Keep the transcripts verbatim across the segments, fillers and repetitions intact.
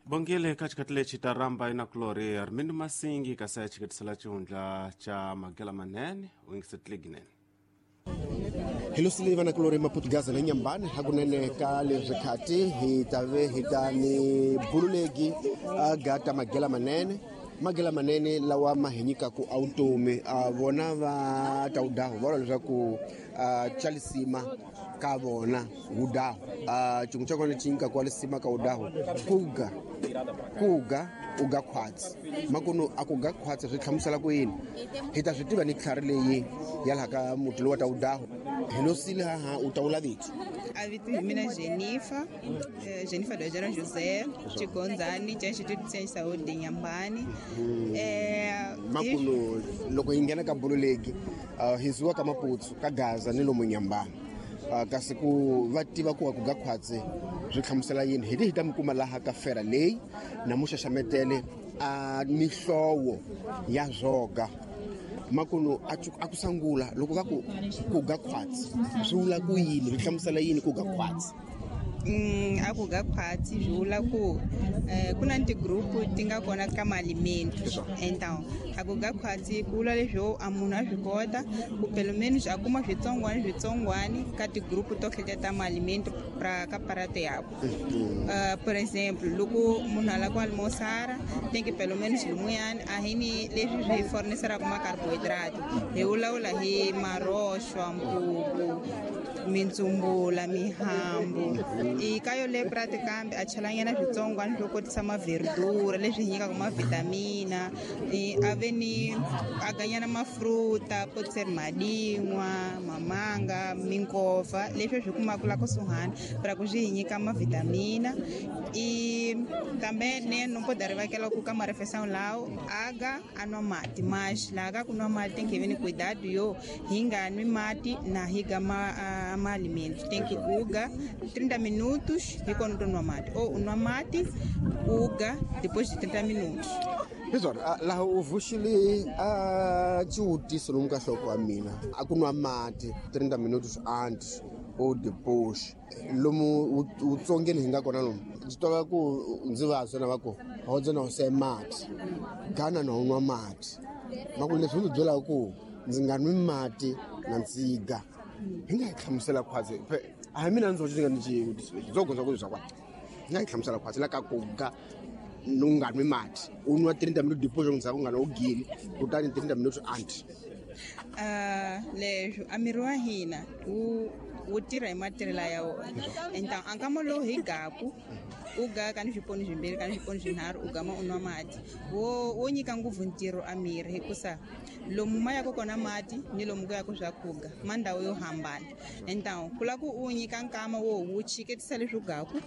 Bongile ka xikati lexi ta ramba inakulori Armindo Masingi kasi ya xiketisela xihundla xa Magela Manene u yingisetile ginene. Hi losile vanakulori Maputu na Nyambani hakunene ka leswi khati hi ta ve hi ta ni bululegi a gata Magela Manene. Magela Manene lawa ma hi nyikaku a vutomi a vona va ta wudahu va vula leswaku a chalisima ka vona wudahu a xin'we xa kona xi nyikaku wa lisima ka wudahu kuga kuga u ga khwatsi makunu a ku ga khwatsi swi hlamusela ku yini hi ta swi tiva ni tlhari leyi ya laha ka muti lowu wa ta wudahu hi losile haha u ta wula vito. A vito hi mina Jennifer, Jennifer Dojana José, Chigonzani, xa Instituto de Ciência e Saúde de Inhambane. Eh, makunu loko hi nghena ka bululeki hi zuwa ka Maputsu ka Gaza ni lomu Nyambani kasi ku va tiva ku ku ga khwatsi swi hlamusela yini hi hi ta mi kuma laha ka fera leyi na muxaxametele a mihlovo ya zwoga makunu a ku sangula loko va ku ku ga khwatsi swi vula ku yini swi hlamusela yini ku ga khwatsi? Mm, a ku ga khwatsi swi vula ku eh, ku na tigrupu ti nga kona ka maalimentos. Então a ku ga khwatsi ku vula leswo a munhu a swi kota ku pelo menos a kuma switsongwani switsongwani ka tigrupu to hleta ta maalimento pra ka prato yakwe. Uh, por exemplo, loko munhu a lava ku almoçar tem que pelo menos lumuyani a hi ni leswi swi forneceraka macarbohidrato hi vulavula hi maroxwa, mpupu, mintsumbula, mihambu. I ka yoleyo prato kambe a chelanyana switsongwana swo kotisa maverdura leswi hi nyikaka mavitamina, a ve ni a ganyana mafruta pode ser madin'wa, mamanga, minkova leswi swi kumaka la kusuhani para ku swi hi nyika mavitamina. I também né, não pode arrivar ku ka marefeição lá aga a nwa mati mas laha ka ku nwa mati tem que ver cuidado yo hi nga nwi mati na hi ga ma, uh, ma alimento tem que uga trinta minutos hi kona u nwa mati ou nwa mati uga depois de trinta minutos. Hiswona laha u vuxile a xivutiso lomu ka nhloko wa mina a ku nwa mati trinta minutos antes ou depois lomu wutsongeni hi nga kona lomu ndzi twa ku ndzi vabya na va ku hodza na se mati gana na u nwa mati maku leswi ndzi byelaka ku ndzi nga nwi mati na ndziga hi nga hi hlamusela khwatsi a hi mina ndzi ndzi nga ni xivutiso lexi ndzo gondza ku swa kwani hi nga hi hlamusela khwatsi la ka ku ga u nga nwi mati u nwa trinta minutos depois ndzhaku u nga na u gili kutani trinta minutos antes. Uh, leswo a miri wa hina wu wu tirha hi matirhelo ya wona. Então a nkama lowu hi gaku u ga ka ni swiponi swimbirhi ka ni swiponi swinharhu u gama u nwa mati wo wo nyika ngopfu ntirho a miri hikusa lomu ma yaka kona mati ni lomu ku yaka swakudya ma ndhawu yo hambana. Então ku lava ku u nyika nkama wo wu chiketisa leswi u gaku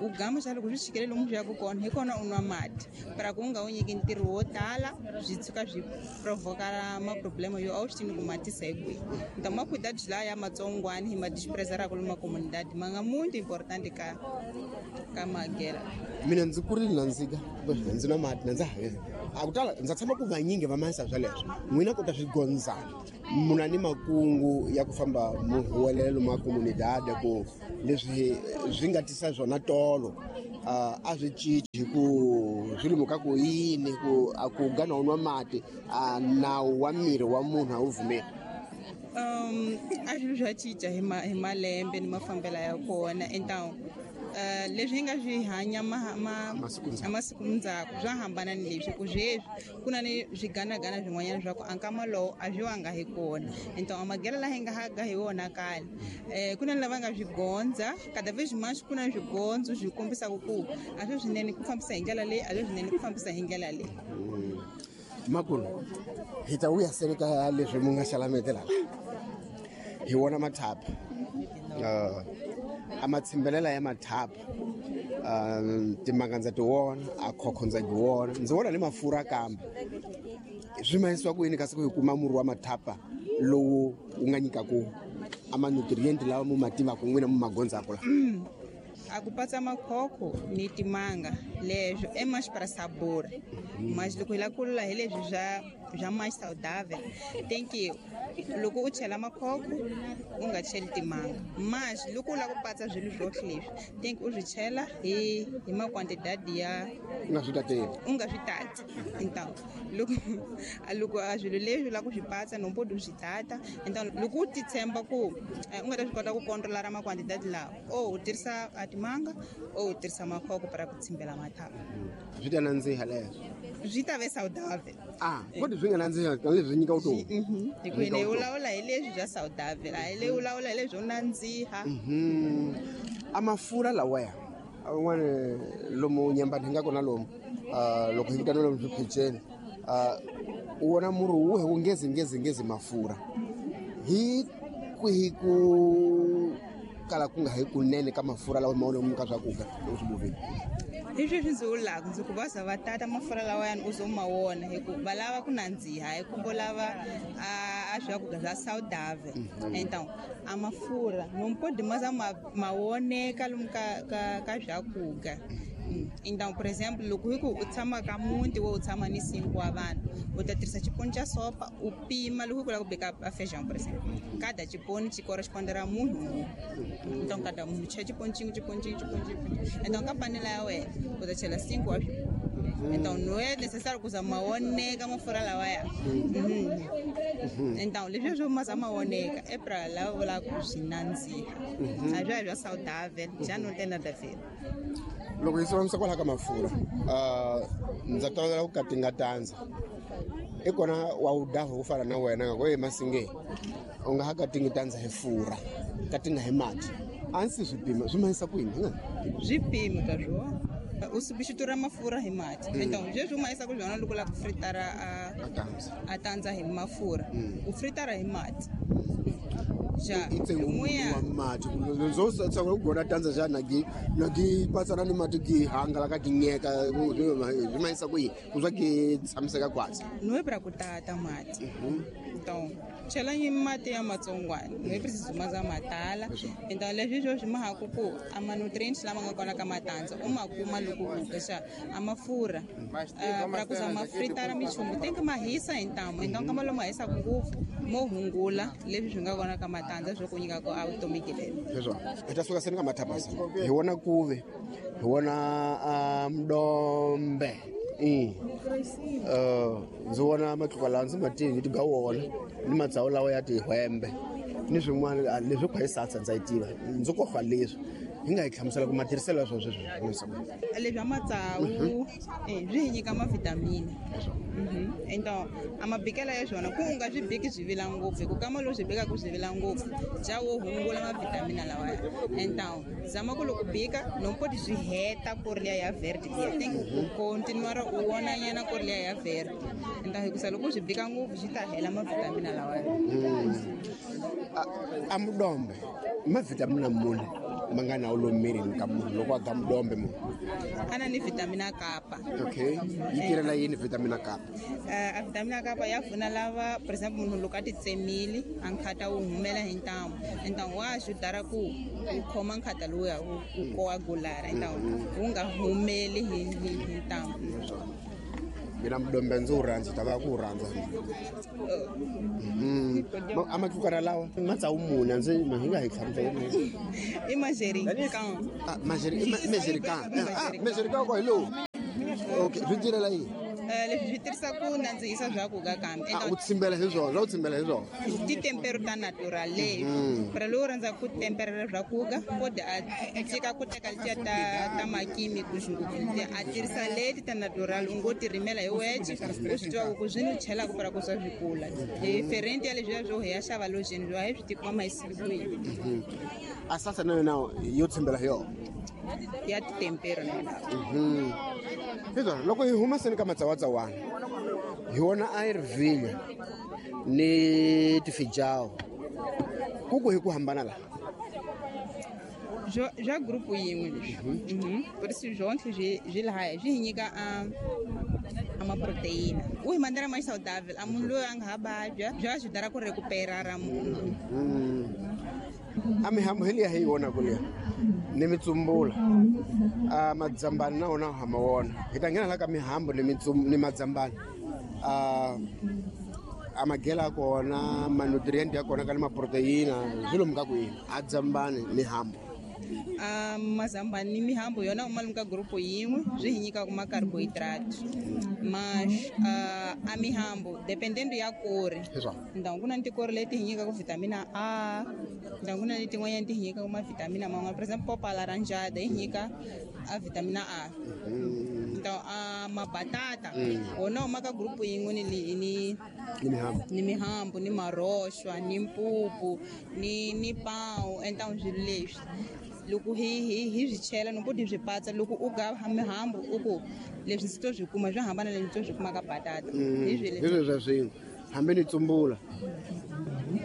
u gama xa loko swi chikele lomu swi yaka kona hi kona u nwa mati para ku u nga wu nyiki ntirho wo tala swi tshuka swi provoka maproblema yo a wu swi tivi ku matisa hi kwihi. Então macuidado laya matsongwani hi ma desprezaraka lomu macomunidade ma nga muito importante ka ka magela. Mina ndzi kurile na ndzika ndzi nwa mati na ndza ha a ku tala ndza tshama ku vanyingi va mahisa sweleswo n'wina kota swi gondzana muna ni makungu ya ku famba mu huwelela lomu a comunidade ku leswi swi nga tisa swona tolo a swi cinci hi ku swi lomu ka ku yini ku a ku ga na u nwa mati a nawu wa miri wa munhu a wu vumeli. Um, a swilo swa cinca hi ma hi malembe ni mafambelo ya kona. Então uh, leswi hi nga swi hanya masiku ndzhaku swa hambana ni leswi ku sweswi ku na ni swiganagana swin'wanyana swa ku a nkama lowu a swi wanga hi kona. Então a magela laha hi nga haga hi wona kale eh, ku na ni lava nga swi gondza cada vez mais ku na swigondzo swi kombisaka ku a swi swinene ku fambisa hi ndlela leyi a swi swinene ku fambisa hi ndlela leyi. Makulu hi ta vuya sele ka leswi mu nga xalametela la hi wona mathapa uh, a matshimbelela ya mathapa uh, timanga ndza ti wona a khokho ndza ti wona ndzi vona ni mafurha kambe swi mahisiwa ku yini kasi ku hi kuma murhi wa mathapa lowu wu nga nyikaku a ma-nutrient lawa mu ma tivaka n'wina mu ma gondzaka la? A ku patsa makhokho ni timanga leswo é mais para sabor. Mas loko hi lava ku lula hi leswi bya bya mais saudável, tem que loko u chela makhokho u nga cheli timanga. Mas loko u lava ku patsa swilo swohle leswi, tem que u swi chela hi hi maquantidade ya U nga swi tateli. U nga swi tati. Então, loko loko a swilo leswi u lava ku swi patsa no pode u swi tata. Então, loko u ti tshemba ku eh, u nga ta swi kota ku controlar maquantidade lawa, ou u tirhisa a timanga ou u tirhisa makhokho para ku tshimbela mathambo. Swi ta nandziha leswo. Swi ta ve saudável. Ah, kodwa swi nga nandziha leswi nyika vutomi. Mhm. Hi ku hina hi vulavula hi leswi bya saudável, a hi le vulavula hi leswo nandziha. Mhm. A mafurha lawaya un'wana lomu nyambani hi nga kona lomu ah, loko hi vitana lomu swiphicheni, ah, u vona murhi wu wu ngezi ngezi ngezi mafurha hi kwihi ku kala ku nga hi kunene ka mafurha lawa ma lomu ka swakudya loko swi bovile? Hi sweswi ndzi vulaka ndzi ku va za va tata mafurha lawayani u zo ma wona hi ku va lava ku nandziha, hi ku vo lava a a swakudya swa saudável. Então a mafurha não pode mais ma ma woneka lomu ka ka ka swakudya. Mm. Então, por exemplo, loko hi ku u tshama ka muti wo u tshama ni cinco wa vanhu, u ta tirhisa xiponi xa sopa u pima loko hi ku lava ku beka a feijão, por exemplo, cada xiponi xi correspondera munhu munhu. Então cada munhu chela xiponi xin'we, xiponi xin'we, xiponi xin'we. Então ka panela ya wena u ta chela cinco wa swiponi. Então não é necessário ku za ma woneka mafurha lawaya. Mhm. Então leswi swo ma za ma woneka é pra lava vulaka ku swi nandziha, a swa ha bya saudável, já não tem nada a ver. Loko hi sivanisa kwalaho ka mafurha, ah, ndza tolovela ku katinga tandza i kona wa wu daha wo fana na wena nga ku e masinge u nga ha katingi tandza hi furha, katinga hi mati, a ndzi swi pima swi mahisa ku yini hi nga Swipimo ka swona u substitura mafurha hi mati. Então sweswi u mahisa ku swona loko u lava ku fritara a a tandza a tandza hi mafurha, u fritara hi mati ja i ntsengo lumuya wa mati ndzo tsakela ku gona tandza xa na gi na gi patsana ni mati gi hangalaka gi nyeka swi mahisa ku yini ku swa gi tshamiseka kwatsi? Não é para ku tata mati. Então chela mati ya matsongwana, não é preciso ma za ma tala. Então leswi swo swi mahaku ku a ma-nutrients lama nga kona ka matandza u ma kuma loko u ka xa a mafurha. Ah, pra ku za ma fritara minchumu tem que ma hisa hi ntamu. Então kama lomu ma hisaka ngopfu mo hungula leswi swi nga kona ka matandza swo ku nyika ku a vutomi lelo. Leswo hi ta suka seni ka mathabasa hi vona kuve hi vona ah, mdombe i uh, ndzi vona matluka lawa ndzi ma tivi ti ga wona ni matsawu lawa ya tihwembe ni swin'wana, ah, leswi kwa hi satsa ndza yi tiva ndzi kofa leswi hi nga hi hlamusela ku matirhiselo ya swona sweswi. Leswi a matsawu eh, swi hi nyika mavitamini. Mhm. Então a mabikela ya swona ku u nga swi biki swi vila ngopfu, hi ku kama loko swi bikaku swi vila ngopfu ja wo hungula mavitamini lawaya. Então zama ku loko bika no poti swi heta ku ri liya ya verde liya, tem ku continuar u vona nyana ku ri liya ya verde. Então hikusa loko swi bika ngopfu swi ta hela mavitamini lawaya. A mudombe mavitamini muni ma nga na wu lomu mirini ka munhu loko a ga mudombe munhu? A na ni vitamina kapa. Okay, yi tirhela yini vitamina kapa? Eh, a vitamina kapa ya pfuna lava, por exemple, munhu loko a ti tsemile a nkhata wu humela hi ntamu, então wa ajudar ku ku khoma nkhata lowuya wu wu coagulara, então wu nga humeli hi hi hi ntamu. Mina mudombe ndzi wu rhandza, ta va ku wu rhandza. Mhm. Ma- a matlukana lawa matsawu muni a ndzi hi nga hi hlamusela? I manjericão. Ah, manjeri- i ma- manjericão. Ah, manjericão ko hi lowu, okay, swi tirhela yini? Eh, leswi swi tirhisa ku nandzihisa swakudya kambe. Ah, u tsimbela hi swona swa u tsimbela hi swona. Titempero ta natural leyi pra lowu rhandzaka ku temperela swakudya kode a tshika ku teka letiya ta ta makimicals ngopfu letiya, a tirhisa leti ta natural u ngo ti rimela hi wexe u swi tiva ku swi ni chelaka pra ku swa swi kula diferente ya leswiya swo hi ya xava lojeni swo a hi swi tivi kuma mahisiwi kwini. A sasa na yona yo tsimbela hi yona Ya titempero na yona. Hi swona loko hi huma seni ka matsawatsawana hi vona a yi ri vhinya ni tifijawu ku ku hi ku hambana laha? Byo bya group yin'we leswi. Mhm. Por isso jontle swi swi lahaya swi hi nyika a a maproteina u hi mandela mais saudável a munhu loyi a nga ha vabya bya ajudar ku recuperar munhu. A mihambu hi liya hi yi vonaku liya Ni mitsumbula a madzambani na wona ha ma wona hi ta nghena la ka mihambo ni ni madzambani a a magela ya kona ma-nutrient ya kona ka ni maproteina swi lomu ka kwini a dzambani ni hambo. A mazambani ni mihambo yona u malumu ka grupo yin'we swi hi nyikaka ma-carbohydrate mas a mihambo dependendo ya kori então ku na tikori leti hi nyikaka vitamina A, então ku na letin'wanyana ti hi nyikaka mavitamina man'wana, por exemple popa laranjada yi nyika a vitamina A. Então a mabatata wona u ma ka grupo yin'we ni ni ni mihambo ni mihambo ni maroxwa ni mpupu ni ni pão. Então swilo leswi loko hi hi hi swi chela no poti swi patsa loko u ga mihambo u ku leswi ndzi to swi kuma swi hambana leswi to swi kuma ka batata hi swi leswi swa swin'we hambi ni tsumbula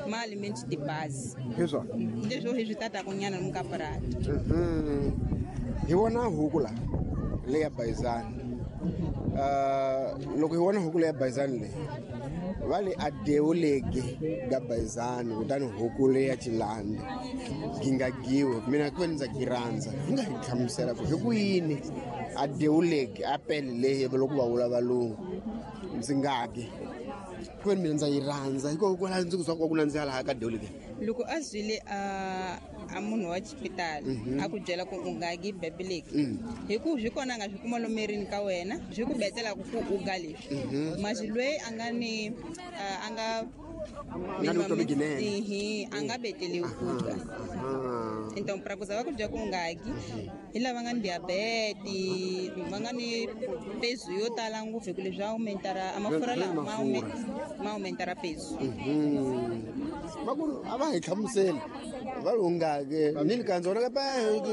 ma aliments de base hi swona leswo hi swi tataka nyana lomu ka purasi. Hi vona huku la leya bayizani loko hi vona huku leya bayizani leyi va le a dewuleki ga bayizani kutani huku leya chilande gi nga giwi mina ku ve ni ndza gi rhandza hi nga hi hlamusela ku hi ku yini a dewuleki a pele leyi loko va vula valungu ndzi nga gi ku ve ni mina ndza yi rhandza hikokwalaho ndzi ku swa ku ku nandziha laha ka dewuleki. Loko a zwile a a munhu wa xipitali a ku byela ku u nga gi bebeleki hi ku swi kona a nga swi kuma lomerini ka wena swi ku betelaka ku u ga leswi masi loyi a nga ni a nga a nga beteliwi ku ga. Então pra ku za va ku byela ku u nga gi hi lava nga ni diabete va nga ni peso yo tala ngopfu hi ku leswi aumentara a mafurha lama ma aumentara peso. Va ku a va hi hlamuseli va ri u nga ke ni li kandza wona ka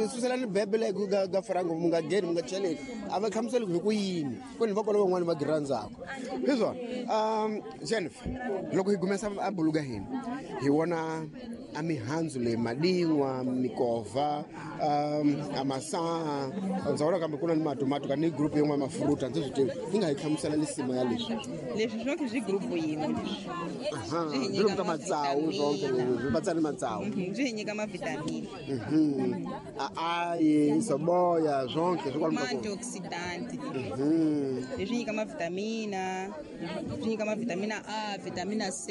susela ni bebele ga ga frango mu nga geni mu nga cheleni a va hlamuseli hi ku yini ku ni va kona van'wani va gi rhandzaka hi swona. Um Jennifer loko hi gumesa a buluka hina hi vona a mihandzu leyi madin'wa mikova um a masaha ndza vona kambe ku na ni matomato ka ni group yin'wana mafruta ndzi swi tivi hi nga hi hlamusela lisima ya leswi leswi swonke swi group yin'we leswi swi lomu ka matsawu swonke swi patsa ni matsawu swi hi nyika mavitamini a ayi soboya swonke swi kwalomu ka ma-antioxidant leswi nyika mavitamina swi nyika mavitamina A, vitamina C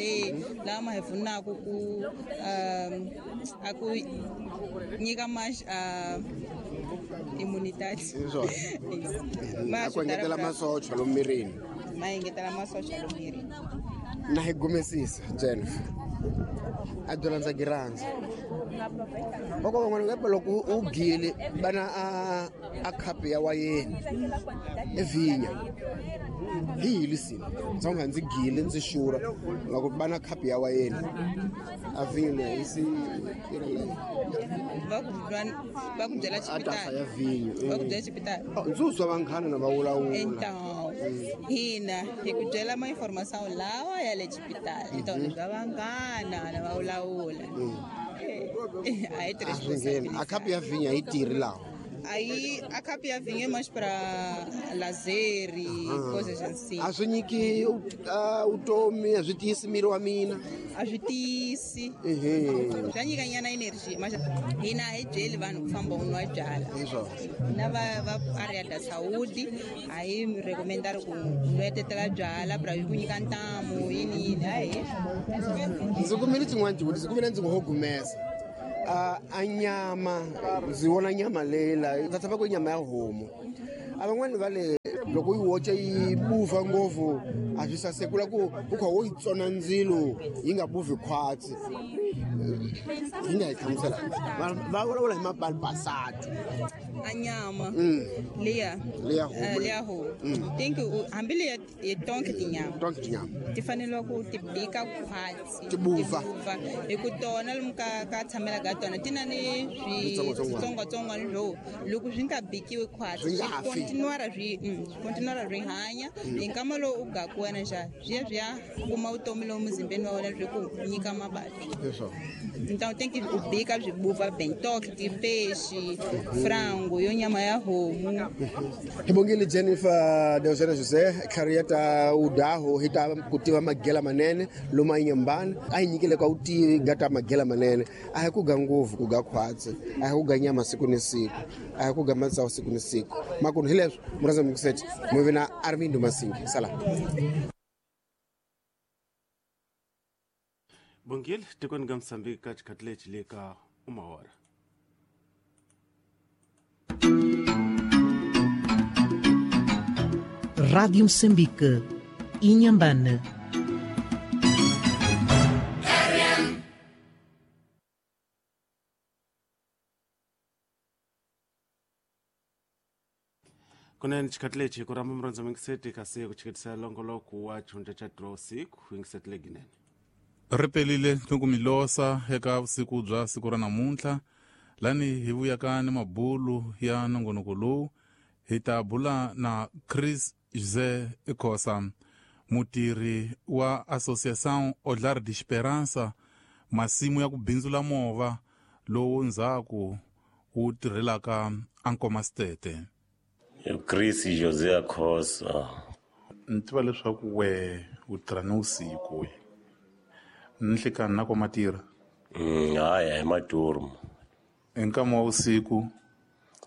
lawa ma hi pfunaka ku a ku nyika ma immunidade a ku engetela masocha lomu mirini ma engetela masocha lomu mirini. Na hi gumesisa Jennifer a byela ndza gi rhandza va ko van'wana kambe loko u gile vana a a khapu ya wayeni evhinya hi hi lisini ndza nga ndzi gile ndzi xura loko vana khapu ya wayeni a vhinyo leyi si va ku va ku byela a tasa ya vhinyo va ku byela xipitali ndzi uswa vanghana na va vulavula. Então hina hi ku byela ma informação lawa ya le xipitali então leswi va vanghana na va vulavula a hi tirhisi a khapu ya vhinyo a yi tirhi lawa. Aí a khapu ya vinho é mais para lazer e coisas assim. A swi nyiki vutomi a swi tiyisi miri wa mina a swi tiyisi swa nyika nyana energy mas hina a hi byeli vanhu ku famba u nwa byala na va va area da saúde a hi recomendar ku nwetetela byala pra ku nyika ntamu yini yini hayi. Ndzi kumile xin'wana xivutiso kumbe ndzi ngo ho gumesa a nyama ndzi vona nyama leyi la ndza tshemba ku i nyama ya homu a van'wani va le loko yi woce yi buva ngopfu a swi sasekula ku u kha wo yi tsona ndzilo yi nga buvi khwatsi yi nga hi hlamusela va vulavula hi mapalipasatu a nyama leya leya homu leya homu think hambi leya tonke tinyama tonke tinyama ti fanele ku ti bika khwatsi ti buva hi ku tona lomu ka ka tshamela ka tona ti na ni switsongwatsongwana swo loko swi nga bikiwi khwatsi Swi nga fi. Continuara swi continuara swi hanya hi nkama lowu u gaku wena xa swi ya swi ya kuma vutomi lowu muzimbeni wa wena swi ku nyika mavabyi. Leswo Então tem que o bica swi buva bem toque de peixe, frango. Ngo yo nyama ya homu. Hi bongile Jennifer Deusena Jose career ta udaho hi ta ku tiva magela manene loma inyambana a hi nyikile ka u tivi gata magela manene a hi ku ga ngopfu ku ga khwatsi a hi ku ga nyama siku ni siku a hi ku ga matsawu siku ni siku makunu hi leswo murhandza mukiseti muvina Armindo Masingi sala. Bongile tikoni ga Mozambique ka xikhathi lexi le ka umahora. Rádio Moçambique, Inhambane. Kunene xikhathi lexi ku rhamba murhandza mingiseti kasi ku chiketisa longoloko wa xihundla xa draw siku yingiseti leginene. Ri pelile ni ku mi losa eka vusiku bya siku ra namuntlha lani hi vuyaka ni mabulu ya nongonoko lowu hi ta bula na Chris José Khosa mutirhi wa Associação Olhar de Esperança masimu ya ku bindzula movha lowu ndzhaku wu tirhelaka Ankomasitete. Chris José Khosa ni tiva leswaku we u tirha ni vusiku we nhlikani na kwa matirha? Mm, haya hi maturmu. Hi nkama wa vusiku?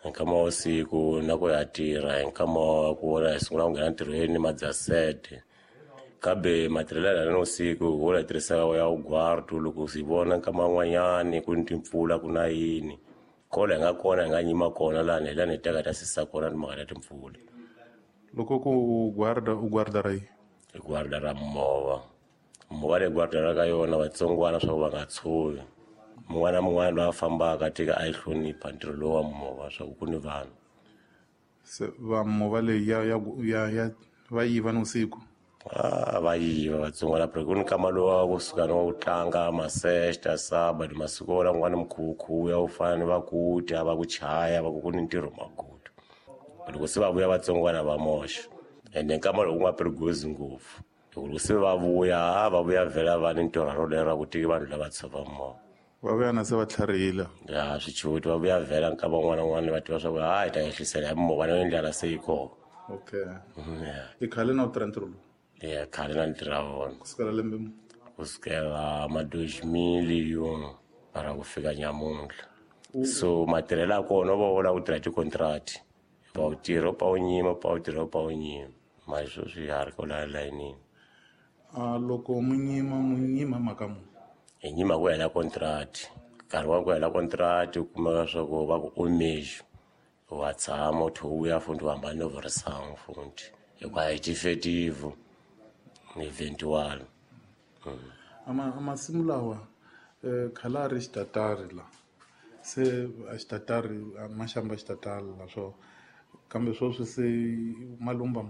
Hi nkama wa vusiku na ku ya tirha hi nkama wa ku vona hi sungula ku nghena ntirhweni madzasete kambe matirhelo ya na vusiku hi wona hi tirhisaka ya ugwardu loko si vona nkama wun'wanyani ku ni timpfula ku na yini kola hi nga kona hi nga nyima kona lani hi lani hi teka ta sisa kona timhaka ta timpfula. Loko ku u guarda u guarda ra yi? Hi guarda ra movha. Movha leyi guarda ka yona vatsongwana swa ku va nga tshovi mun'wana na mun'wana loyi a fambaka tika a yi hlonipha ntirho lowu wa movha swa ku ku ni vanhu. Se va movha leyi ya ya ya ya va yiva nivusiku? Ah, va yiva vatsongwana phela ku ni nkama lowu wa kusuka ni wa ku tlanga masexta sabado masiku wona kun'wana mikhukhu ya ku fana ni va ku dya va ku chaya va ku ku ni ntirho magudu loko se va vuya vatsongwana va moxa ende nkama lowu ku nga perigozi ngopfu loko se va vuya va vuya vhela va ni ntirho rolero ra ku tiki vanhu lava tshova movha va vuya na se va tlharihile ya swichuti va vuya vhela nkama wun'wana na wun'wana va tiva swa ku ha hi ta ehlisela hi movha na ndlela se yi kona. Okay. I khale na u tirha ntirho lowu? Ya khale na ntirha wona kusukela lembe mu? Kusukela ma dois mil e um para ku fika nyamuntlha. So matirhelo ya kona va vula ku tirha ti-contract va u tirha pa u nyima pa u tirha pa u nyima mali sweswi ya ha ri kwala layinini. A loko mu nyima mu nyima mhaka mu? Hi nyima ku hela contract nkarhi wa ku hela contract u kumeka swa ku va ku omejo wa tshama u tlhe u vuya futhi u hambana no vurisangu futhi hikuva hi tifetivu ni eventual. Ama masimu lawa khale a ri xitatari la se a xitatari maxamba xitatari la swo kambe sweswi se malumba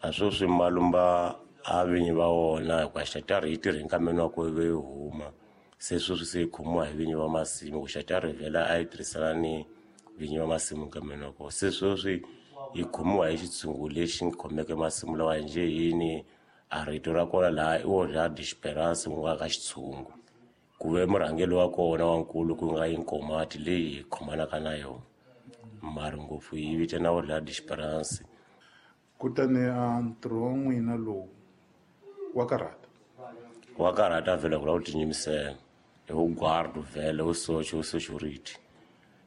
a sweswi malumba a vinyi va wona hikuva xitatari yi tirhe nkameni wa ku ve yi huma se sweswi se yi khomiwa hi vinyi va masimu ku xitatari vhela a yi tirhisana ni vinyi va masimu nkameni wa kona se sweswi yi khomiwa hi xitshungu lexi khomeke masimu lawa njhe yini a rito ra kona laha i Olhar de Esperança ku nga ka xitshungu ku ve murhangeri wa kona wa nkulu ku nga Inkomati leyi hi khomanaka na yona mara ngopfu yi vitana Olhar de Esperança. Kutani a ntirho wa n'wina lowu wa karhata? Wa karhata vhele ku lava ku tinyimisela hi ku guardo vhele u socha u security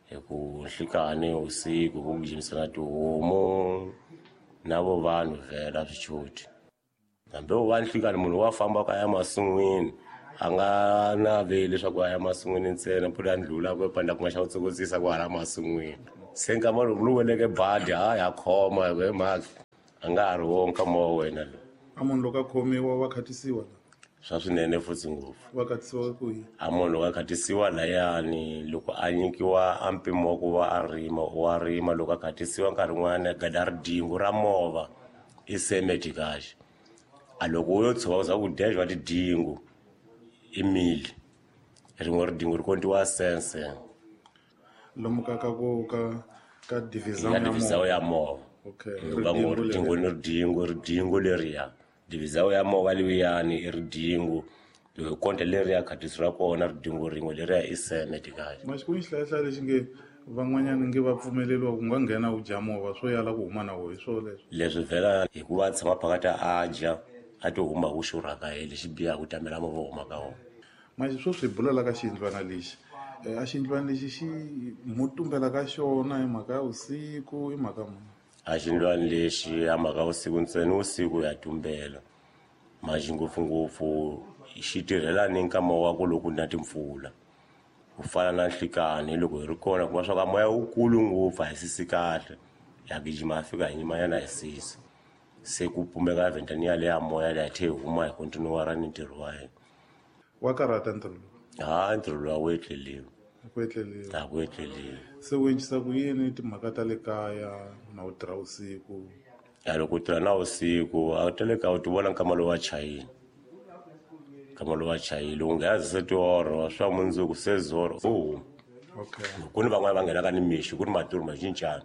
hi ku nhlikani usiku ku gijimisana tihomu na vo vanhu vhele a swi choti hambi u va nhlikani munhu wa famba ka ya masin'wini a nga naveli leswaku a ya masin'wini ntsena mpfula ya ndlula ku panda ku nga xa ku tsokotsisa ku hala masin'wini se nkama lowu lu weleke badi ha ya khoma hi mhaka a nga ha ri wo nkama wa wena lowu. A munhu loko a khomiwa wa khatisiwa la? Swa swinene futhi ngopfu. Wa khatisiwa ku yini? A munhu loko a khatisiwa layani loko a nyikiwa a mpimo wa ku va a rima wa rima loko a khatisiwa nkarhi wun'wana gada ridingu ra movha i semedikaxe a loko u yo tshuka u za ku dya va tidingu i mili rin'we ridingu ri kontiwa sense lomu ka ka ku ka ka divisão ya divisão ya movha. Okay. Va ngo ridingu ni ridingu ridingu leriya divisão ya movha liyani i ridingu loko konta leriya khatisi ra kona ridingu rin'we leriya i semedikaxe. Maxi ku ni xihlayahlaya lexi nge Van'wanyana nge va pfumeleriwa ku nga nghena u dya mova swo yala ku huma na wo hi swo leswo. Leswi vhela hikuva a tshama phakathi a dya a ti huma ku xurhaka hi lexi biha ku tamela movha huma ka wona. Manje sweswi hi bula la ka xiyindlwana lexi. A xiyindlwana lexi xi mo tumbela ka xona hi mhaka ya vusiku i mhaka muni? A xiyindlwana lexi a mhaka vusiku ntsena vusiku ya tumbela. Manje ngopfungopfu xi tirhela ni nkama wa ku loko na timpfula. Ku fana na nhlikani loko hi ri kona kuma swa ka moya wukulu ngopfu a hi sisi kahle. Ya gijima fika hi nyimanyana hi sisi. Se ku pumeka vhentani ya moya leyi tlhe huma hi kontinuwara ni ntirho wa hina. Wa karhata ntirho lowu? Ha, ntirho lowu a wu etleliwi. A ku etleliwi. A ku etleliwi. Se u endlisa ku yini timhaka ta le kaya na u tirha vusiku? Ya loko u tirha na vusiku a ta le kaya u ti vona nkama lowu wa chayile. Nkama lowu wa chayile u nghena se tioro swa mundzuku se zoro u huma. Okay. Ku ni van'wana va nghenaka ni mixo ku ni maturu ma cincana.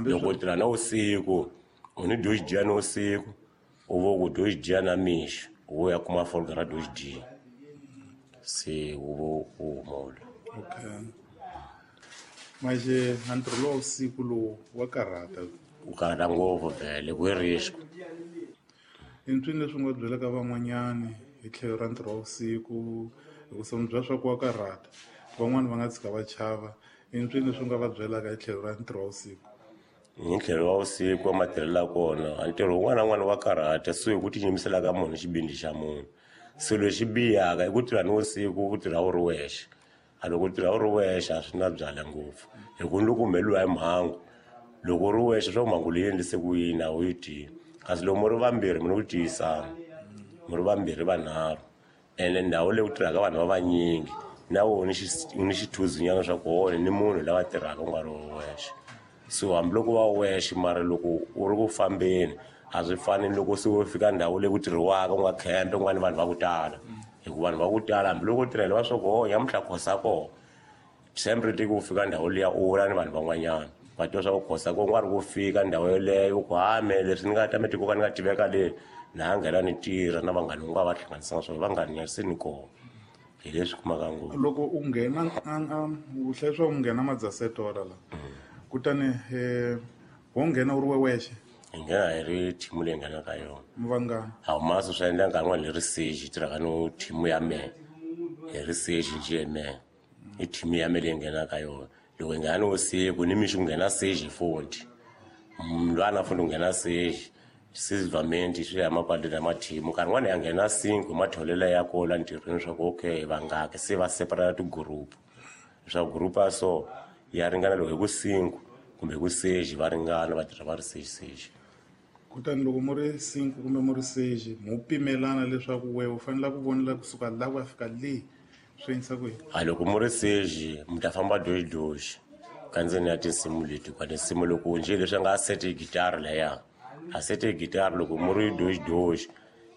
Loko u tirha na vusiku u ni dyo dya na vusiku u vo ku dyo dya na mixo u ya kuma folga ra dyo dya. Se u vo u huma. Okay. Manje ntirho lowu vusiku lowu wa karhata. U karhata ngopfu vhele ku i risk. I ntwini leswi u nga byelaka van'wanyani hi tlhelo ra ntirho wa vusiku hikusa mi byela swa ku wa karhata van'wani va nga tshika va chava i ntwini leswi u nga va byelaka hi tlhelo ra ntirho wa vusiku? Hi tlhelo wa vusiku wa matirhelo ya kona ntirho wun'wana na wun'wana wa karhata so hi ku tiyimisela ka munhu xibindi xa munhu. Se lexi bihaka i ku tirha ni vusiku u tirha u ri wexe. A loko u tirha u ri wexe a swi na byala ngopfu hi ku ni loko u humeleriwa hi mhangu loko u ri wexe swa ku mhangu leyi endlise ku yini a wu yi tivi. Kasi loko mi ri vambirhi mi ni ku tiyisana mi ri vambirhi vanharhu ene ndhawu leyi ku tirhaka vanhu va vanyingi na wona ni xithuzinyana swa ku wona ni munhu lava tirhaka u nga ri wexe. So hambiloko va wexe mara loko u ri ku fambeni a swi fani ni loko se u fika ndhawu leyi ku tirhiwaka u nga khempe ku nga ni vanhu va ku tala hikuva vanhu va ku tala hambiloko u tirhela va swa ku ho nyamuntlha khosa kona sempre tiki u fika ndhawu liya u vula ni vanhu van'wanyana va tiva swa ku khosa ko nga ri ku fika ndhawu yeleyo ku hame leswi ni nga ta mi tiko ka ni nga tiveka le na nghena ni tirha na vanghani u nga va hlanganisanga swona vanghani ya se ni kona hi leswi kumaka ngopfu. Loko u nghena u hlaya swa ku nghena madzasetora la kutani wo nghena u ri wexe? Hi nghena hi ri thimu leyi nghenaka yona. Mi vangani? A humasi swi endla nkarhi wun'wani hi ri seji hi tirhaka no thimu ya mehe hi ri seji njhe mehe i thimu ya mehe leyi nghenaka yona. Loko hi nghena ni vusiku ni mixo ku nghena seji futhi mlwana futhi ku nghena seji sivamenti swi ya makwaleni ya mathimu nkarhi wun'wani ya nghena cinco hi matholelo ya kona ntirhweni swa ku okay vangaki se va separate tigroup leswaku group ya so ya ringana loko hi ku cinco kumbe hi ku seji va ringana va tirha va ri seji seji. Kutani loko mu ri cinco kumbe mu ri seji mo pimelana leswaku wehe u fanele ku vonela kusuka la ku ya fika le swi endlisa ku yini? A loko mu ri seji mi ta famba doxi doxi ka ndzeni ya tinsimu leti kwa tinsimu loko njhe leswi a nga sete gitara leya a sete gitara loko mu ri doxi doxi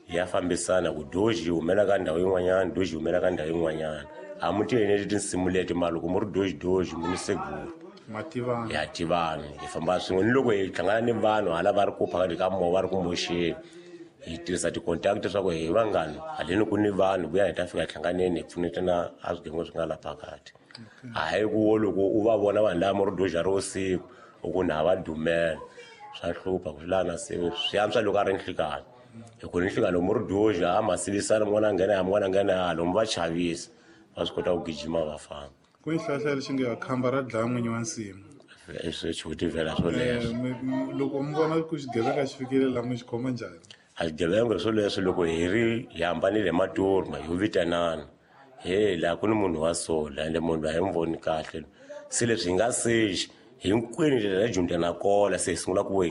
ya fambisana ku doxi yi humela ka ndhawu yin'wanyana doxi yi humela ka ndhawu yin'wanyana a mu ti eneli tinsimu leti mara loko mu ri doxi doxi mu ni seguru mativana ya tivana hi famba swin'we ni loko hi hlangana ni vanhu hala va ri ku phakathi ka movha va ri ku moxeni hi tirhisa ti-contact leswaku hi vangani haleni ku ni vanhu vuya hi ta fika hi hlanganeni hi pfunetana a swigevenga swi nga la phakathi. Hayi ku wo loko u va vona vanhu lava mu ri doxa ri vusiku u ku na va dumela swa hlupha ku swi lava na se swi antswa loko a ri nhlikani hi ku ni nhlikani loko mu ri doxa a ma sivisana mun'wana a nghena ya mun'wana a nghena ya lomu va chavisa va swi kota ku gijima va famba. Ku ni xihlahla lexi nge khamba ra dlaya n'winyi wa nsimu. Swi xivutivela swoleswo. Loko mi vona ku xigevenga xi fikile laha mi xi khoma njhani? A xigevenga swoleswo loko hi ri hi hambanile hi maturma hi vitanana he laha ku ni munhu wa so la ende munhu a hi n'wi voni kahle se leswi hi nga seji hinkwenu ndlela ya dyondza na kola se hi sungula ku